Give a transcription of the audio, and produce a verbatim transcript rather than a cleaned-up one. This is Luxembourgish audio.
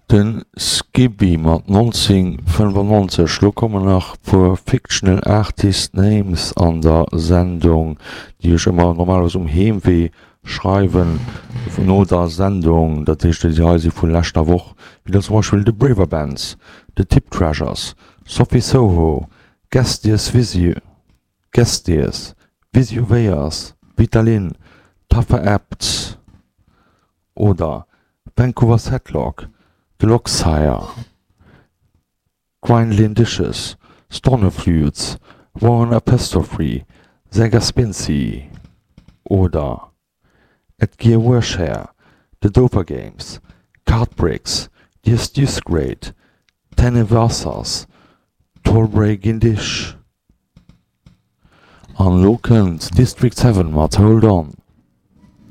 De Skibi mat nonzéng fënnefannonzeg. Lo kommen nach puer Fictional Artist Names an der Sendung, déi ech ëmmer normalerweis um Heemwee schreiwen no der Sendung. Dat heescht, déi hei si vu leschter Woch, wéi dann zum Beispill de Braver Bands, de Tip Treasures, Sophie Soho, Gestiers Visio, Gestiers, Visio Veyers, Vitalin, Taffer Abt oder Vancouver Setlock, The Locksire, Grindlin Dishes, Stornoflutes, Warren Apostrophe, Sega Spincy oder Edgear Warshare, The Dover Games, Cardbricks, The Great, Tennewassers, Tolbray Gindish. An lo kënnt District seven mat Hold On.